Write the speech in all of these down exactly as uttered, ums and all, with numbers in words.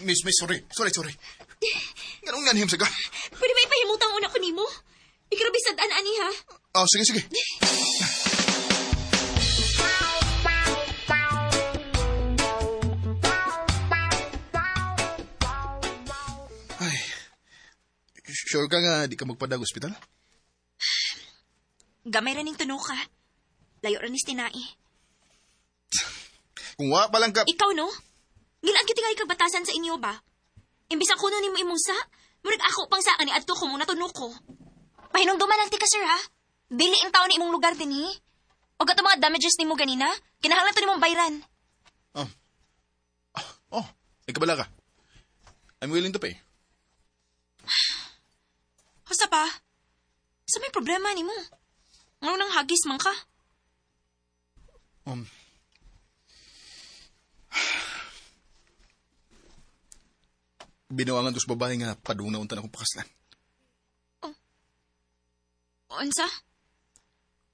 Miss, miss, sorry. Sorry, sorry. Nganong nanhim sa ka? Pwede ba ipahimutang una ko nimo? Igrabe sad-an ani ha. Oh, sige, sige. Ay, sure ka nga di ka magpadag ospital? Gamay ra ning tuno ka. Layo ra ni tinai. Kung wa pa lang ka... Ikaw no? Ngilaan gyud tingali kag batasan sa inyo ba? Imbis ako no nimo imong sa, murag ako pang sa ani adto ko mo natuno ko. Pahinumduman lang ti ka sir ha. Dili ang tao ni imong lugar dinhi. Og ato mga damages nimo ganina, kinahanglan to nimong bayran. Oh. Oh, ikabala ka. I'm willing to pay. Husa pa? Sa may problema nimo? Ngano nang hagis man ka? Um, binuangan to sa babae nga padung na unta na akong pakaslan. Unsa?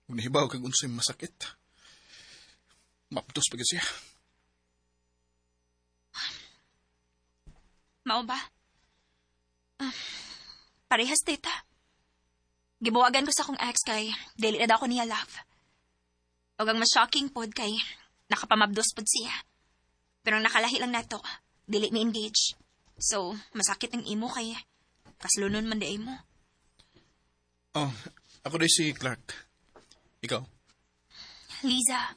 Kung nahibaw kag unsay masakit. Maptos pa gyud siya. Mao ba? Ah, parehas tita. Gibuwagan ko sa akong ex kay dili na daw ko niya love. Og ang mas shocking pod kay nakapamabdos pod siya. Pero ang nakalahi lang nato, dili mi engage. So, masakit ang imo kay kaslunon man di ay mo. Oh, ako day si Clark. Ikaw? Liza,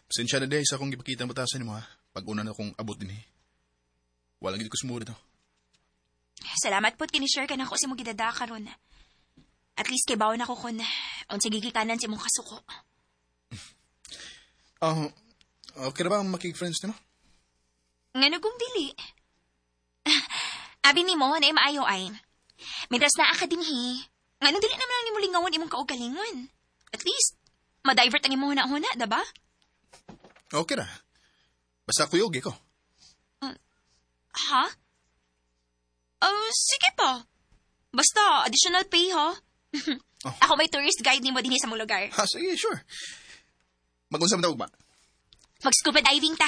Pasensya na day sa akong gipakita ang batasan nimo ha. Pag una na akong abot dinhi. Wala gid ko sumuri to. salamat pod kini-share ka nako sa imong gidada karon. At least kay bawon ako kun unsa gigikanan sa imong kasuko. Oh, okay ra ba ang makig-friends nimo? Ngano kung dili? Abi nimo na maayo ay. Mientras naa ka dinhi, ngano dili naman lang nimo lingawon imong kaugalingon. At least ma-divert ang imong huna-huna, diba? Okay ra. Basta kuyog ko. Ha? Oh, sige pa. Basta additional pay ha. Oh. Ako may tourist guide nimo dinhi sa mong lugar. Ha, sige, sure. Mag-unsa man ta ugma? Mag-scuba diving ta.